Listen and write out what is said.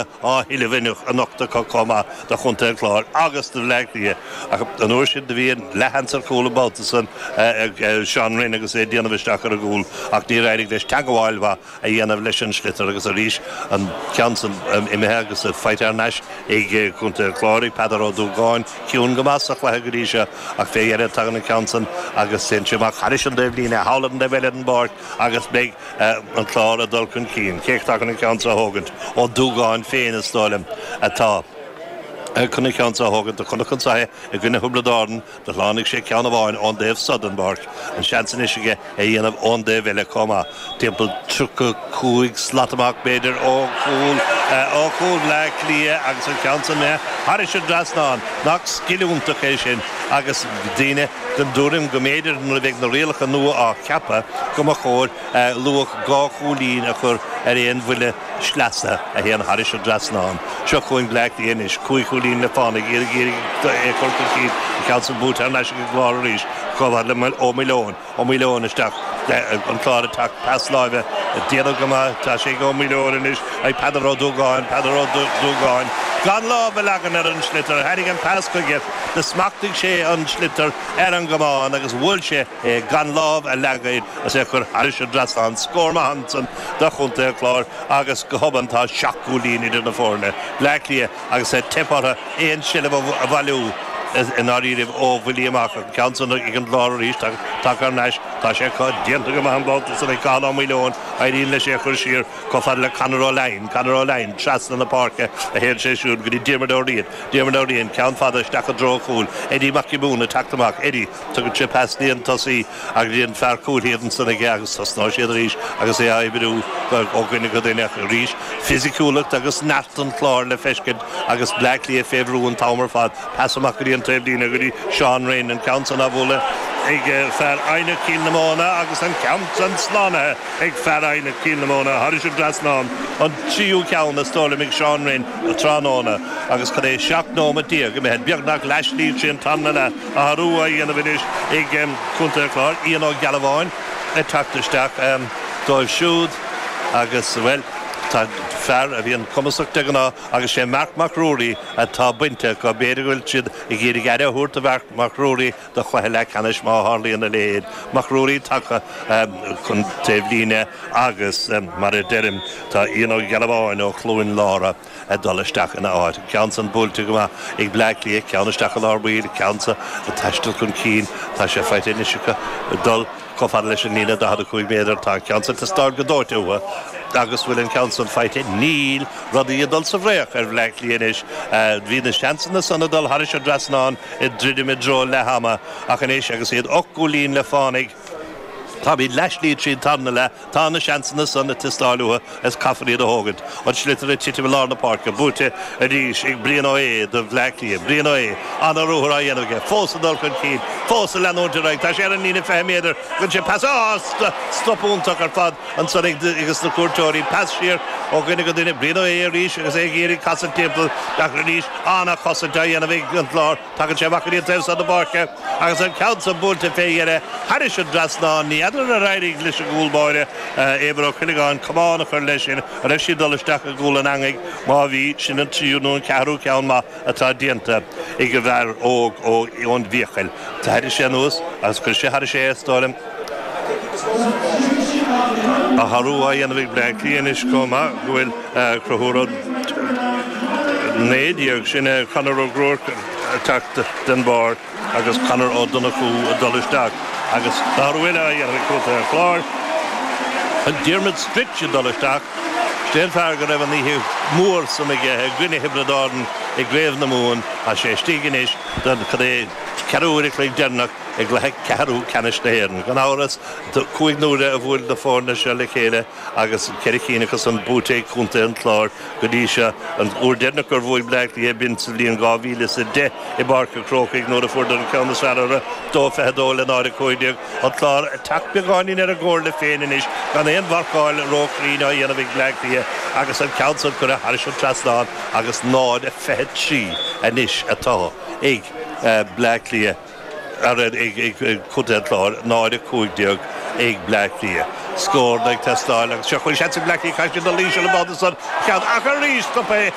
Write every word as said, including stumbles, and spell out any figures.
á thuilleamh anocht acu chomh maith do Chontae an Chláir agus do Bhleá Cliath. Ach an uair sin do bhí an leathsheans ar chúl an babhta san ag Seán Rynne agus é ag déanamh isteach ar an gcúl ach níor éirigh leis teagmháil mhaith a dhéanamh leis an sliotar agus arís an ceann san imithe agus faighte thar n-ais ag Contae an Chláir ag Peadar Ó Dúgáin ciúin go maith sa chluiche go dtí seo ach fé dheireadh tagann an ceann san agus téann sé amach thairis an dtaobhlíne thall ar an dtaobh eile den bpáirc agus beidh an Clár ag dul chun cinn. Cé atá chun an ceann seo a thógaint? Ó Dúgáin féin is dóigh liom atá chun an ceann seo a thógaint. Do chonac anso é i gcoinne Thiobraid Árann, do shlánaigh sé ceann amháin ón dtaobh so den bpáirc. An seans anois aige é a dhéanamh ón dtaobh eile chomh maith. Timpeall tríocha cúig slat amach b'fhéidir ó chúl ó chúl Bhleá Cliath agus an ceann san imithe thairis an dtrasnán. Nach scil iontach é sin agus daoine den dtuairim go mb'fhéidir nuair a bheidh na rialacha nua á ceapadh go mba chóir luach dhá chúilín a chur ar aon bhuille sleasa a théann thairis an dtrasnán. Seo chugainn Bleá Cliath anois, cúig chúilín le fánaidh, iad ag iarraidh é a chur chun cinn, an ceann san buaite thar n-ais ag an gClár arís, chomh fada le Ó Maoileoin, Ó Maoileoin isteach, an Clár ag teacht, pas láimhe, déanamh go maith, tá sé ag Ó Maoileoin anois, ag Peadar Ó Dúgáin, Peadar Ó Dúgáin, gan lámh a leagan ar an sliotar, tháinig an pas chuige, do smachtaigh sé an sliotar ar an gcamán agus bhuail sé é gan lámh a leagan air agus é a chur thairis an dtrasnán. Scór maith ansan do chontae an Chláir agus go hobann tá seacht gcúilín idir na foirne, Bleá Cliath agus ag teip orthu aon seilbh a bhailiú i ndáiríribh ó bhuillí amach. An ceann san ag an gClár arís, tagtha thar n-ais, tá sé acu, déanta go maith an babhta san ag Cathal Ó Maoileoin, éiríonn leis é a chur siar chomh fada le Conor Ó Leidhin, Conor Ó Leidhin trasna na páirce a théann sé siúd go dtí Diarmuid Ó Riain, Diarmuid Ó Riain, ceann fada isteach i dtreo an chúil, Eddie Mac Giobúin ag teacht amach, Eddie, tugann sé pas go dtí an tosaí agus go dtí an fear cúil thiar ansan aige agus tosnóidh siad arís agus é á oibriú ó dhuine go duine ach arís fisiciúlacht agus neart an Chláir le feiscint agus Bleá Cliath fé bhrú an t-am ar fad. Pas amach go dtí an taobh líne go dtí Seán Rynne, an ceann san á bhualadh ag fear Eidhneach Cill na Móna agus an ceann san slánaithe ag fear Eidhneach Cill na Móna thairis an dtrasnán, an tríú ceann is dóigh liom ag Seán Rynne tráthnóna agus cad é seacht nóimeat déag imithe, beagnach leathshlí tríd an tarna leath, athrú á dhéanamh anois ag Contae an Chláir, Ian Ó Gealbháin ag teacht isteach dóibh siúd agus, bhuel, tá fear a bhíonn cumasach de ghnáth agus sé Marc Mac Ruairí atá bainte acu. B'fhéidir go bhfuil siad ag iarraidh aire a thabhairt do Mharc Mac Ruairí do chluiche leathcheannais má tharlaíonn a leithéid. Mac Ruairí tagtha chun taobhlíne agus, mar a deirim, tá Ian Ó Gealbháin ó Chluain Lára ag dul isteach ina áit. An ceann san buailte go maith ag Bleá Cliath, ceann isteach i lár baill, ceann san ag taisteal chun cinn. Tá sé faighte anois acu ag dul chomh fada leis an líne daichead a cúig méadar. Tá an ceann san ag teastáil go dóite uathu agus bhfuil an ceann san faighte? Níl. Rudaí ag dul sa bhfraoch ar Bhleá Cliath anois. Bhí na seansanna san ag dul thairis an dtrasnán ag druidim i dtreo leath ama ach anois agus iad ocht gcúilín le fánaidh, táimid leathshlí tríd an tarna leath, tá na seansanna san ag teastáil uathu is caithfear iad a thógaint. An sliotar ag titim i lár na páirce, buaite arís ag Brian Ó hAodha do Bhleá Cliath. Brian Ó hAodha, ana-ruathar á dhéanamh aige, fós ag dul chun cinn, fós ag leanúint ar aghaidh, tá sé ar an líne fiche méadar, tugann sé pas, á, stop iontach ar fad ansan ag na cuairteoirí, pas siar ó dhuine go duine, Brian Ó hAodha arís agus é ag iarraidh casadh timpeall ach arís ana-chosaint á dhéanamh ag an gClár. Tagann sé amach go dtí an taobh seo na páirce agus an ceann san buailte fé dheireadh thairis an dtrasnán. Ní fheadar ar éirigh leis an gcúl báire, Éibhear Ó Cuileagáin, camán a chur leis sin. An raibh sí ag dul isteach i gcúl an eangaigh? Má bhí, sin an tríú nó an ceathrú ceann maith atá déanta ag an bhfear óg ón bhFiacail. Thairrig sé anuas agus chuir sé thairis é, is dóigh liom. Athrú á dhéanamh ag Bleá Cliath anois chomh maith go bhfuil Conchúr Ó naoi déag, sin é Conor Ó Gruairc ag teacht den bharr agus Conor Ó Donnchú ag dul isteach agus athrú eile á dhéanamh ag Contae an Chláir, Diarmuid Stritch ag dul isteach. Sin é an fear go raibh an oíche mhór san aige i gcoinne Thiobraid Árann i gCraobh na Mumhan. Tá sé istigh anois don cad é ceathrú uair a chloig deireanach i gcluiche ceathrú ceannais na hÉireann. Gan amhras, cúig n-uaire a bhuail na foirne seo le chéile agus ceithre cinn acu san buaite ag contae an Chláir go dtí seo. An uair deireanach gur bhuaigh Bleá Cliath b'in sa bhliain dhá mhíle is a deich i bPáirc an Chrócaigh nuair a fuaireadar an ceann is fearr orthu, dó fiche dó le náid a cúig déag. An Clár ag teacht beagáinín ar a gcomhairle féin anois gan aon mharcáil róchruinn á dhéanamh ag Bleá Cliath agus an ceann san curtha thairis an trasnán agus náid a fiche trí anois atá ag Bleá Cliath. Ag Contae an Chláir, náid a cúig déag ag Bleá Cliath. scór ag teastáil agus seo chugainn seans ag Bleá Cliath caithfidh siad dul íseal an babhta san ceann ach arís stop é.